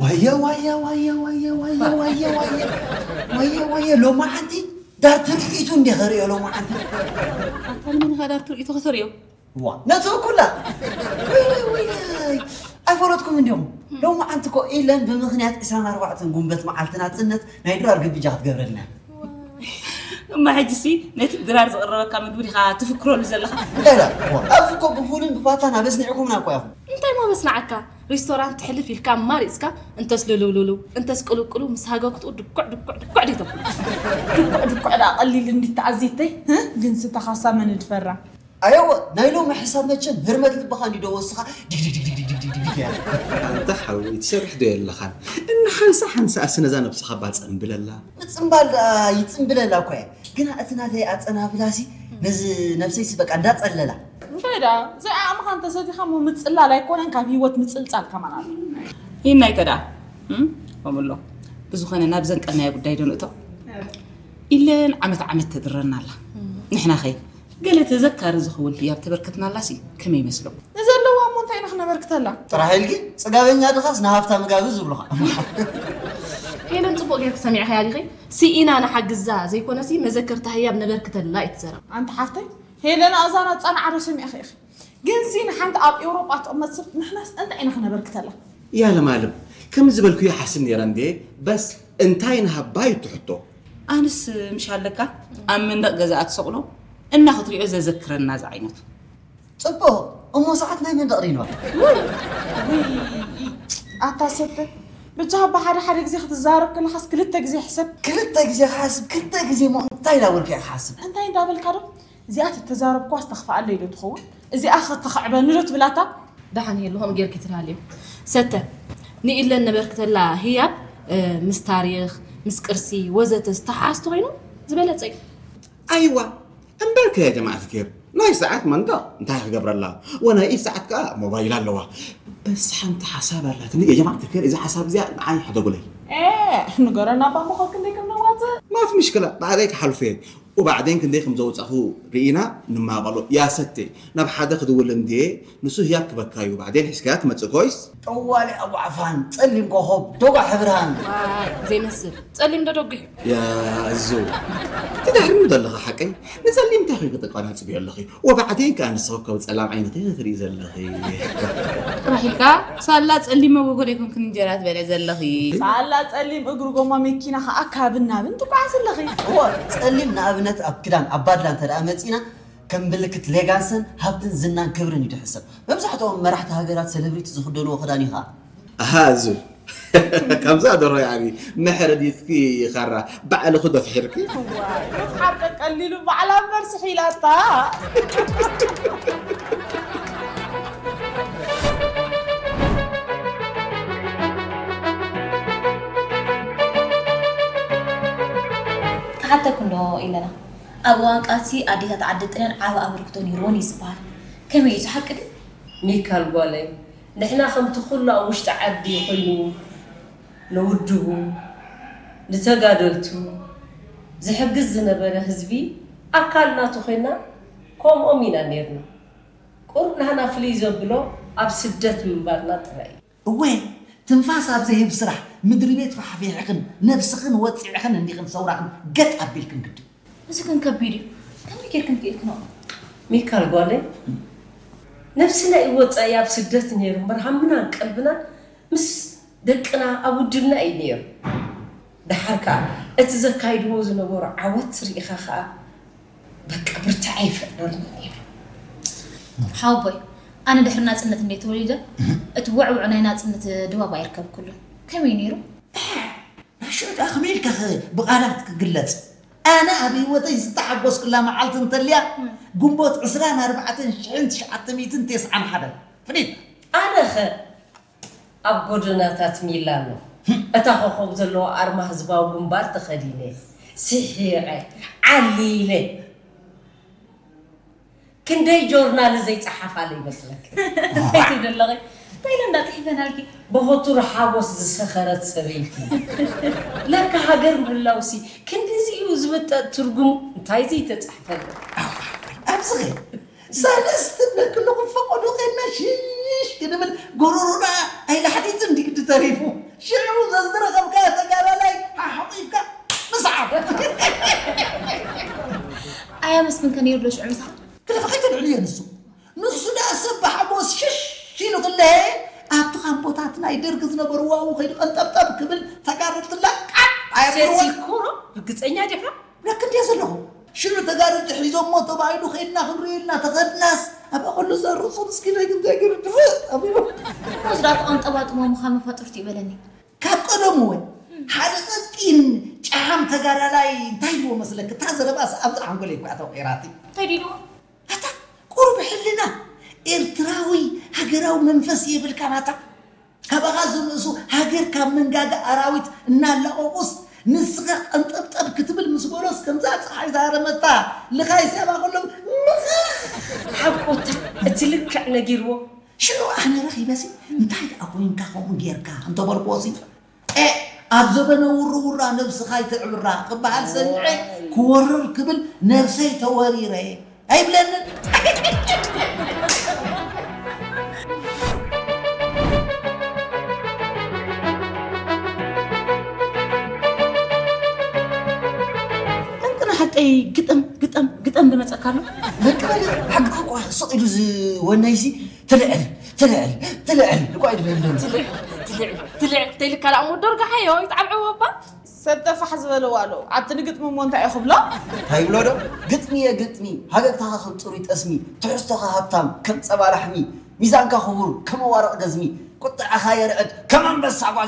ዋየ ዋየ ዋየ ዋየ ዋየ ዋየ ዋየ ዋየ ዋየ ዋየ ሎማዓንቲ ዳር ትርኢቱ እንዴ ኸርእዮ ሎማዓንቲ። ኣታ ንመን ኢኻ ዳር ትርኢቱ ከተርእዮ? ዋ ነቲ ኩላ ወይ ወይ ወይ ኣይፈለጥኩም እንዲኹም። ሎማዓንቲ እኮ ኢለን ብምኽንያት ዕስራን ኣርባዕተን ጉንበት መዓልቲ ናጽነት ናይ ድራር ግብጃ ክትገብረልና። እማ ሕጂሲ ነቲ ድራር ዝቕረበካ ምግቢ ዲኻ ትፍክረሉ ዘለኻ? እንታይ ዳ እዋ፣ ኣብዚ እኮ ብፉልን ብፋታን ኣበስኒዕኩምና እኮ ኢኹም። እንታይ ሞ በስናዓካ? ሪስቶራንት ትሕልፍ ኢልካ ማሪፅካ እንተስ ልልውልውልው እንተስ ቅልውቅልው ምስ ሃገኩትኡ ድኩዕ ድኩዕ ድኩዕ ደይ ተብሉ። ድኩዕ ድኩዕ ደኣ ቀሊል እንዲ ተኣዚተይ። ግን ስተኻሳ መን ድፈራ? ኣየወ ናይ ሎሚ ሕሳብ መቸም ህርመት ልብኻ እንዲዶ ወስኻ ዲግዲግዲግዲግዲግዲግ እያ። ኣንታ ሓወይ ትሰርሕ ዶ የለኻን? እና ሓንሳ ሓንሳ ኣስ ነዛ ነብስኻ ባጸንብለላ። ምጽንባል ደኣ ይጽንብለላ እኮ እየ። ግና እቲ ናተይ ኣጸናብላሲ ነዚ ነብሰይሲ በቃ እንዳጸለላ። እንታይ ደኣ ዘይዓቕምኻ እንተሰቲኻ እሞ ምጽላል ኣይኮነን ካብ ህይወት ምጽልጻል ከማን ኣሎ። ይናይ ከዳ እም? ከምሎ ብዝኾነ ናብ ዘንቀልናዮ ጉዳይ ዶ ንእቶ? ኢለን ዓመት ዓመት ተድረና ኣላ። ንሕና ኸይ ገለ ተዘካሪ ዝኸውን ህያብ ተበርከትናላሲ ከመይ ይመስሎ? ንዘለዋ እሞ እንታይ ኢና ክነበርክተላ? ጥራሕ ኢልኪ ጽጋበኛ ድኻስ ንሃፍታ ምጋቢ ዝብሉኻ። ሄለን ጽቡቕ ጌርኪ ሰሚዕኻያ ዲኺ? ስኢና ንሓግዛ ዘይኮነሲ መዘከርታ ህያብ ነበርክተላ እዩ ትዘረብ። ኣንቲ ሓፍተይ ሄለን ኣዛና ጻንዓ ዶ ሰሚዕኺ ኢኺ? ግንሲ ንሓንቲ ኣብ ኤውሮጳ ትቕመጥ ሰብ ንሕናስ እንታይ ኢና ክነበርክተላ? ያለማለም ከም ዝበልኩ ይሓስብ ነይረ እንዴ በስ እንታይ ንሃባ እዩ ትሕቶ? ኣንስ ምሽ ኣለካ ኣብ መንደቕ ገዛኣ ትሰቕሎ እና ክትሪኦ ዘዘክረና ዝዓይነቱ። ጽቡቕ እሞ ሰዓት ናይ መንደቕ ሪንዋ። ኣታ ሰተ ብቻ ብሓደ ሓደ ግዜ ክትዛረብ ከለኻስ ክልተ ግዜ ሕሰብ። ክልተ ግዜ ክሓስብ ክልተ ግዜ ሞ እንታይ ዳበልካ ክሓስብ። እንታይ እንዳበልካ ዶ እዚኣ ተተዛረብኳስ ተኽፍኣለይ ዶ ትኸውን? እዚኣ ኸ ተኽዕበኒ ዶ ትብል ኣታ? ደሓን የለ ከምኡ ጌርኪ ትልሃልዮ። ሰተ፣ ንኢለን ነበርክተላ ህያብ ምስ ታሪኽ፣ ምስ ቅርሲ ወዘተ ዝተሓሓዝ ተኾይኑ ዝበለጸ እዩ። ኣይዋ እምበርከ ያ ጀማዓት ኬር ናይ ሰዓት መንደቕ እንታይ ክገብረላ ወናይ ኢድ ሰዓት ከኣ ሞባይል ኣለዋ በስ ሓንቲ ሓሳብ ኣላትኒ የጀማዓት ኬር እዚ ሓሳብ እዚኣ ንዓይ ሕደጉለይ ንገረና እባ ምኾ ክንደይ ከም ነዋፅእ ማፍ ምሽክላ ባዕለይ ክሓልፎ እየ። ኡባዕዴን ክንደይ ከም ዘውጻኹ ርኢና ንማቐሎ። ያ ሰቴ፣ ናብ ሓደ ክድውል እንድየ፣ ንሱ ህያብ ክበካ እዩ። ባዕዴን ሒዝካያ ትመጽእ ኮይስ? ጠዋሊ ኣቡ ዓፋን፣ ጸሊም ኮኾብ፣ ዶጓ ሕብርሃን። ዋይ ዘይመስል ጸሊም ዶ ደጒሕ እዩ። ያ እዙ፣ ትድሕርኒ ዘለኻ ሓቀይ? ንጸሊም እንታይ ኮይኑ ክተቋናጽብዮ ኣለኺ? ወባዕዴን ከኣ ንስኺ ካብ ጸላም ዓይንኺ ክትርኢ ዘለኺ። ጥራሕ ኢልካ ሳላ ጸሊም መጎጎ ደይኮንክን እንጀራ ትበልዒ ዘለኺ። ሳላ ጸሊም እግሪ ጎማ መኪና ከኣ ካብን ናብን ትጓዓዝ ኣለኺ። እወ ጸሊም ንኣብነት ኣብ ክዳን ኣባድላ እንተ ደኣ መጺና ከም ምልክት ሌጋንስን ሃብትን ዝናን ክብርን እዩ ዝሕሰብ። መብዛሕትኦም መራሕቲ ሃገራት ሰለብሪቲ ዝኽደንዎ ክዳን እዩ ከኣ። ኣሃ እዙ ከምዛ ደርሆ ያኒ መሕረዲትኪ ኻራ ባዕልኹ ደፍሒርኪ ዋይ ምፍሓር ቀቀሊሉ ባዕላ እምበር ስሒላታ ክሓተኩ እንዶ ኢለና ኣብ እዋን ቃልሲ ኣዴታት ዓዲ ጥልያን ዓቢ ኣበርክቶ ነይርወን እዩ ዝበሃል ከመይ እዩ እዚ ሓቂ ድዩ? ሚካል ጓለይ ንሕና ከምቲ ኩሉ ኣብ ውሽጢ ዓዲ ኮይኑ ንውድቡ ንተጋደልቱ ዝሕግዝ ዝነበረ ህዝቢ ኣካል ናቱ ኮይና ከምኦም ኢና ኔርና ቁሩብ ናህና ፍልይ ዘብሎ ኣብ ስደት ምንባርና ጥራይ እዩ። እወ ትንፋስ ኣብ ዘህብ ስራሕ ምድሪ ቤት ፋሕፊሕኽን ነብስኽን ወጺዕኽን እንዲኽን ሰውራኽን ገጥ ኣቢልክን ግዲ። እዚ ግን ከቢድ እዩ። ከመይ ጌርክን ክኢልክንኦ? ሚካል ጓለይ ነብስና እዩ ወጻኢ ኣብ ስደት ነይሩ እምበር ሃምናን ቀልብናን ምስ ደቅና ኣብ ውድብና እዩ ነይሩ። ደሓር ከኣ እቲ ዘካይድዎ ዝነበሩ ዓወት ርኢኻ ከኣ በቃ ብርትዐ ይፈጥረልና ነይሩ። ሓወቦይ ኣነ ድሕሪ ናጽነት እንደ ተወሊደ እቲ ውዕውዕ ናይ ናጽነት ድባብ ኣይርከብኩሉን። ከመይ ነይሩ? ናሽኦ ደኣ ከመይ ኢልካ ብቓላት ክግለጽ? ኣነ ኣብ ህይወተይ ዝተሓጎስኩላ መዓልቲ እንተልያ ግንቦት ዕስራን ኣርባዕተን ሽሕን ትሽዓተ ሚእትን ተስዓን ሓደን ፍሊጥ። ኣነኸ ኣብ ጎደናታት ሚላኖ እታ ኮኾብ ዘለዋ ኣርማ ህዝባዊ ግንባር ተኸዲነ፣ ስሒቐ፣ ዓሊለ። ክንደይ ጆርናል ዘይጸሓፋለ ይመስለኪ? እንታይ ትብሊ ኣለኺ? እንታይ ኢለ እንዳጽሒፈናልኪ? ብኹቱር ሓጎስ ዝሰኸረት ሰበይቲ። ለካ ሃገር ምህላውሲ ክንድዚ እዩ ዝምጠጥ ትርጉሙ እንታይ ዘይተጻሕፈለ? ኣብዚኸ ሰለስተ ደቂ ኣለኹ ፈቐዶ ኸድና ሽሽ ክንብል ጎሮሮና ኣይላሕዲትን ድግዲ ተሪፉ። ክንከ ነይሩ ዶ ሽዑ ምሳኻ? ክለፈ ከይተልዕልዮ ንሱ። ንሱ ደኣ ሰብ ብሓጎስ ሽሽ ኢሉ ክለሀ ኣብቲ ካምፖታት ናይ ደርጊ ዝነበሩ ዋው ከይዱ ቀንጠብጠብ ክብል ተጋሩ ትላቃጥ ኣየብልዎ። ሴሲኮሮ ርግፀኛ ዲኻ? ብለክ እንዲየ ዘለኹ። ሽዑ ተጋሩ ትሒዞሞ ተባሂሉ ከይድና ክንሪኦ ኢልና ተኸድናስ ኣብ ኣኸሉ ዘርሱ ምስኪን ኣይግዛግር ድፍእ ኣቢሉ። ወስዳ ተቐንጠባጥቦ ምዃን መፋጥርቲ ይበለኒ። ካብ ቀደሙ እውን ሓደ ቀጢን ጨሓም ተጋዳላይ እንታይ ኢልዎ መስለክ? እታ ዘረባስ ኣብዚ ሓንጎለይ እኳ ተወቂራትኒ። እንታይ ኢልዎ? ኣታ ቁሩብ ሕልና ኤርትራዊ ሃገራዊ መንፈስ የብልካን ኣታ። ካባኻ ዝንእሱ ሃገር ካብ መንጋጋ ኣራዊት እናላቐቑስ ንስኻ ቀንጠብጠብ ክትብል ምስ በሎስ ከምዛ ፀሓይ ዝሃረመታ ልኻይ ስያባ ከሎ ምኽኽ። ሓቆታ እቲ ልክዕ ነጊርዎ። ሽዑ ኣነ ረኺበሲ እንታይ ደኣ ኮይንካ ከምኡ ጌርካ እንተበልክዎሲ፣ ኤእ ኣብ ዘበነ ውርውራ ነብስኻ ይተዕብራ ክበሃል ሰሚዐ ክወርር ክብል ነብሰይ ተወሪረ ኣይብለንን። እንቅና ሓቀይ ግጥም ግጥም ግጥም ዝመፀካ ኣሎ። በቃ ሓቂ እኮ ስቕ ኢሉ ዝወነይሲ ትልዕል ትልዕል ትልዕል እኳ እዩ ድብል። ትልዕል ትልዕል ተይልካ ደኣ እሞ ዶርጋ ሓዮ ይትዓብዕቦ እባ። ሰብ ጠፋሕ ዝበለ ዋሎ ኣብቲ ንግጥሚ እሞ እንታይ እዩ ክብሎ? እንታይ ይብሎ ዶ? ግጥሚ እየ ግጥሚ፣ ሃገግታኻ ከም ፅሩይ ጠስሚ፣ ትሕዝቶኻ ሃብታም ከም ፀባ ላሕሚ፣ ሚዛንካ ክቡር ከም ኣዋርቕ ገዝሚ፣ ቁጥዐኻ የርዕድ ከም ኣንበሳ ጓል